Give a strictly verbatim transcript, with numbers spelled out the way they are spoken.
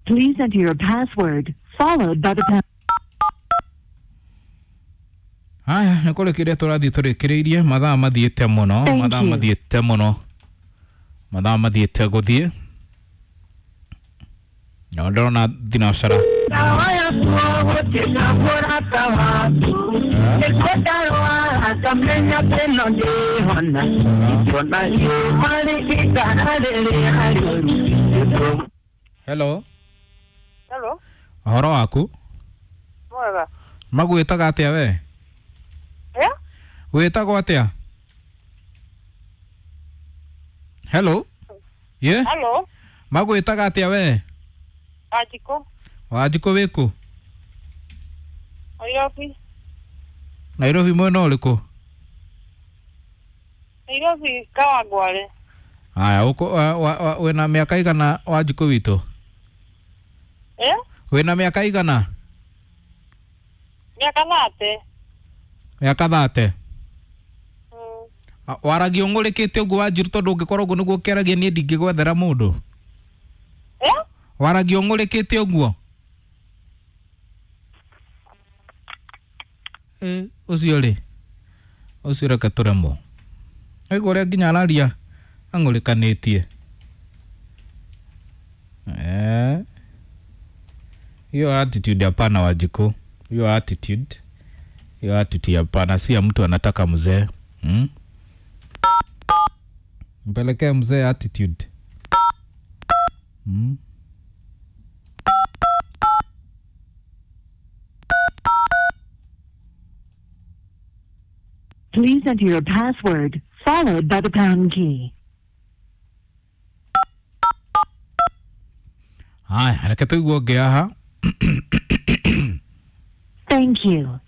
Please enter your password, followed by the pound. Haya, nä kå rä kä ria tå rathiä tå rä kä rä irie mathaa mathiä te må no. Thank Mathaa you. mathiä te må no, mathaa mathiä te gå thiä no ndĩrona thinacara. Hello. Hello, ũhoro waku? Mwega. Magwĩtaga atĩa we? Eh? Wĩtagwo atĩa? Hello, ye. Hello, Magwĩtaga atĩa we? Wanjikũ. Wanjikũ, wĩkũ? Nairobi. Nairobi mwena ũrĩkũ? Nairobi Kawangware. Haya, ũkũ- wa- wa- wa- wĩna mĩaka igana, Wanjikũ witũ? Eh? Wĩna mĩaka igana? Mĩaka thate. Mĩaka thate. Mm. Waragia ũng'ũrĩkĩte ũguo, Wanjiru, tondũ ũngĩkorwo ũguo nĩguo ũkĩaragia niĩ ndingĩgwethera mũndũ. Eh? Waragia ũng'ũrĩkĩte ũguo. Ĩ, ũcio rĩ, ũcio reke tũremwo aigua ũrĩa nginya araria ang'ũrĩkanĩtie. Eh. Hiyo attitude hapana, Wanjikũ, hiyo attitude, hiyo attitude hapana, si ya mtu anataka mzee, hmm? Mpelekee mzee attitude, hmm? Please enter your password, followed by the pound key. Haya, reke tũigue ũngĩ haha. Thank you.